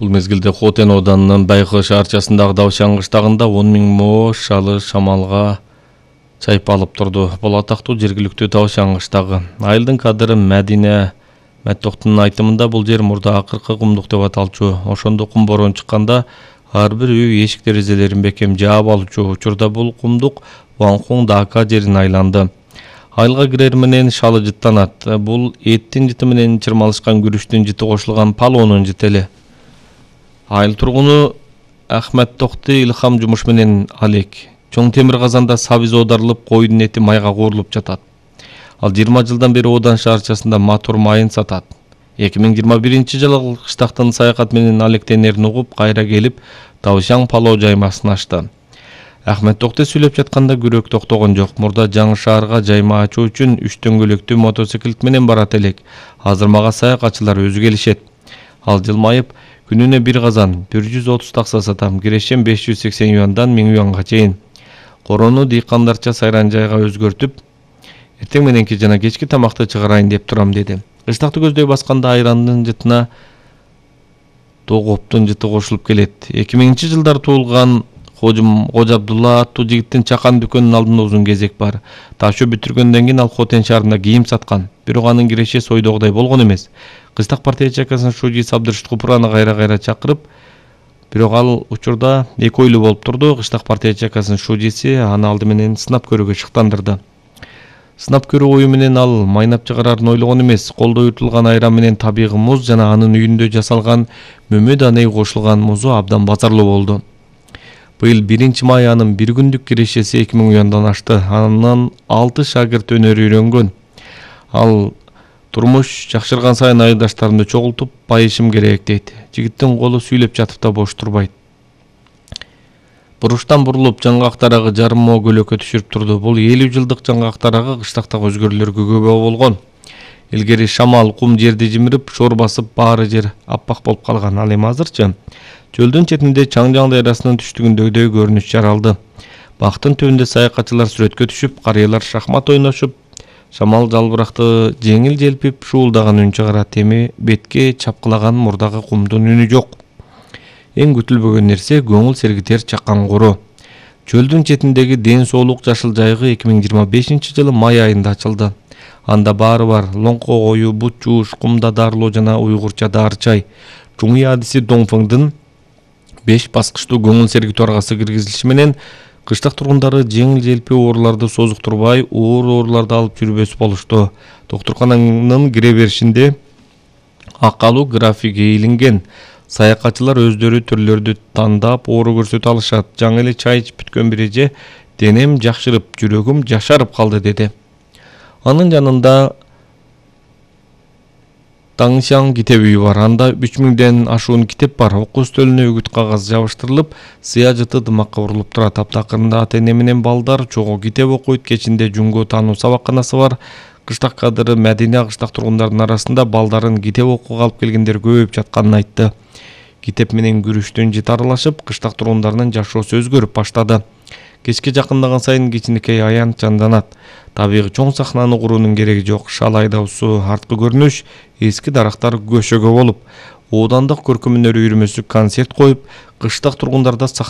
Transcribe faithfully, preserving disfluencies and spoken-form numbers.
Бул мезгилде Хотен ауданынын Байкы шаарчасындагы Давшан кыштагында он миң мо шалы шамалга чайпалып турду. Бул атактуу жергиликтүү Давшан кыштагы. Айылдын кадыры Мәдине Мәттоктунун айтымында бул жер мурда акыркы кумдук деп аталчу. Ошондо кум борон чыкканда ар бир үй эшик терезелерин бекем жаап алчу. Учурда бул кумдук Ванхун Дака жерин айланды. Айылга кирер менен шалы жыттанат. Бул эттин жыты менен чырмалышкан күрүчтүн жыты кошулган палонун жытели. Айыл тургуну Ахмет Токти илхам жумуш менен алек. Чоң темир казанда сабиз оодарылып, койдун эти майга куурулуп жатат. Ал жыйырма жылдан бери Одан шаарчасында матур майын сатат. эки миң жыйырма биринчи жылы кыштактын саякат менен алектенерин угуп, кайра келип, Давшан палоо жаймасын ачты. Ахмет Токти сүйлөп жатканда күрөк токтогон жок. Мурда жаңы шаарга жайма ачуу үчүн үч дөңгөлөктүү мотоциклет менен барат элек. Азыр мага саякатчылар өзү келишет. Ал жылмайып, күнүнө бир казан бир жүз отуз такса сатам. Кирешем беш жүз сексен юандан миң юанга чейин. Корону дыйкандарча сайран жайга өзгөртүп, эртең мененки жана кечки тамакты чыгарайын деп турам деди. Кыштакты көздөй басканда айрандын жытына тогоптун жыты кошулуп келет. эки миңинчи жылдары туулган Кожум Кожо Абдулла аттуу жигиттин чакан дүкөнүнүн алдында узун кезек бар. Ташоо бүтүргөндөн кийин ал Хотен шаарында кийим саткан. Бирок анын киреше сойдогудай болгон эмес. Кыштак партия чакасынын шужиси Абдыршыт Купураны кайра-кайра чакырып, бирок ал учурда эки ойлуу болуп турду. Кыштак партия чакасынын шужиси аны алды менен сынап көрүүгө шыктандырды. Сынап көрүү ою менен ал майнап чыгарарын ойлогон эмес. Колдо үтүлгөн айран менен табигый муз жана анын үйүндө жасалган мөмө даней кошулган музу абдан базарлуу болду. Быйыл биринчи май анын бир күндүк кирешеси эки миң юандан ашты. Андан алты шагырт өнөр үйрөнгөн. Ал турмуш жакшырган сайын айылдаштарымды чогултуп, байышым керек дейт. Жигиттин колу сүйлөп жатып да бош турбайт. Буруштан бурулуп жаңгак тарагы жарым мо көлөккө түшүрүп турду. Бул элүү жылдык жаңгак тарагы кыштактагы өзгөрүүлөргө күбө болгон. Илгери шамал, кум жерди жимирип, шор басып, баары жер аппак болуп калган. Ал эми азырчы чөлдүн четинде Чаңжаң дайрасынын түштүгүндөгүдөй көрүнүш жаралды. Бактын түбүндө саякатчылар сүрөткө түшүп, карыялар шахмат ойношуп, шамал жалбыракты жеңил желпип, шуулдаган үн чыгарат. Эми бетке чапкылаган мурдагы кумдун үнү жок. Эң күтүлбөгөн нерсе көңүл сергитер чакан кору. Чөлдүн четиндеги ден соолук жашыл жайгы эки миң жыйырма бешинчи жылы май айында ачылды. Анда баары бар: лоңко кою, бут жууш, кумда дарылоо жана уйгурча дары чай. Чуңуй адиси Доңфыңдын беш баскычтуу көңүл сергитүү аргасы киргизилиши менен кыштак тургундары жеңил желпи ооруларды созуктурбай, оор ооруларды алып жүрбөс болушту. Доктуркананын кире беришинде акалуу графиги илинген. Саякатчылар өздөрү түрлөрдү тандап оору көрсөтө алышат. Жаңы эле чай ичип бүткөн бир эже денем жакшырып, жүрөгүм жашарып калды деди. Анын жанында Таңшан китеп үйү бар. Анда үч миңден ашуун китеп бар. Окуу стөлүнө үгүт кагаз жабыштырылып, сыя жыты дымакка урулуп турат. Аптакырында ата-эне менен балдар чогуу китеп окуйт. Кечинде жүнгө таануу сабакканасы бар. Кыштак кадыры Мәдине кыштак тургундардын арасында балдарын китеп окууга алып келгендер көбөйүп жатканын айтты. Китеп менен күрүчтүн жыты аралашып, кыштак тургундарынын жашоосу өзгөрүп баштады. Кечке жакындаган сайын кичинекей аян жанданат. Табигый чоң сахнаны куруунун кереги жок. Шал айдоосу арткы көрүнүш, эски дарактар көшөгө болуп, Оодандык көркөм өнөр үйүрмөсү концерт коюп, кыштак тургундарда